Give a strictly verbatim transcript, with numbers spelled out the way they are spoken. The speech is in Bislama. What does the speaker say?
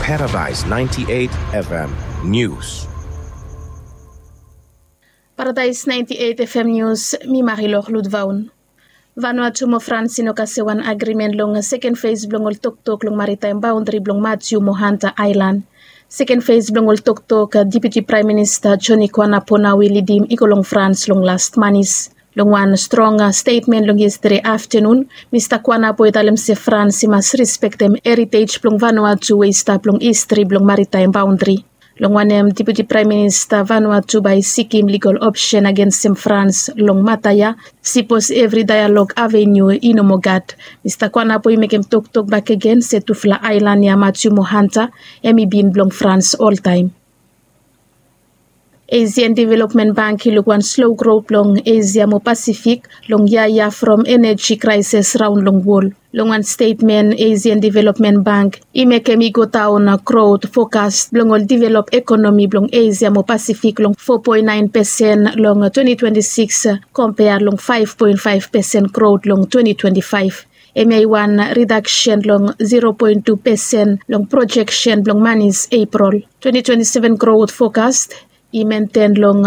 Paradise ninety-eight F M News. Paradise ninety-eight F M News, mi Marilor Ludvaun. Vanuatu mo Frans i no kase wan agrimen long seken fes blong ol toktok long maritaem baondri blong Matiu mo Hanta Aelan. Seken fes blong ol toktok, Deputi Praem Minista Joni Kuanapo nao i lidim i go long Frans long las manis. Long wan strong stetmen long yestede aftenun, Mista Kuanapo i talem se Frans i mas rispektem eritej blong Vanuatu we i stap long histri blong maritaem baondri. Long wanem, Deputi Praem Minista Vanuatu bae i sikim ligol opsen agensem Frans long mata ya, sipos evri daelog avenu i no moa gat. Mista Kuanapo i mekem toktok bakegen se tufala aelan ya Matiu mo Hanta hem i bin blong Frans oltaem. Asian Development Bank i luk wan slow grot blong Asia mo Pasifik long yia ya from eneji kraeses raon long wol. Long wan stetmen, Asian Development Bank i mekem i godaon grot fokas blong ol develop ekonomi blong Asia mo Pasifik long four point nine percent long twenty twenty-six, kompea long five point five percent grot long twenty twenty-five. Hemia i wan redaksen long zero point two percent long projeksen blong manis Eprol. Twenty twenty-seven grot fokas i menten long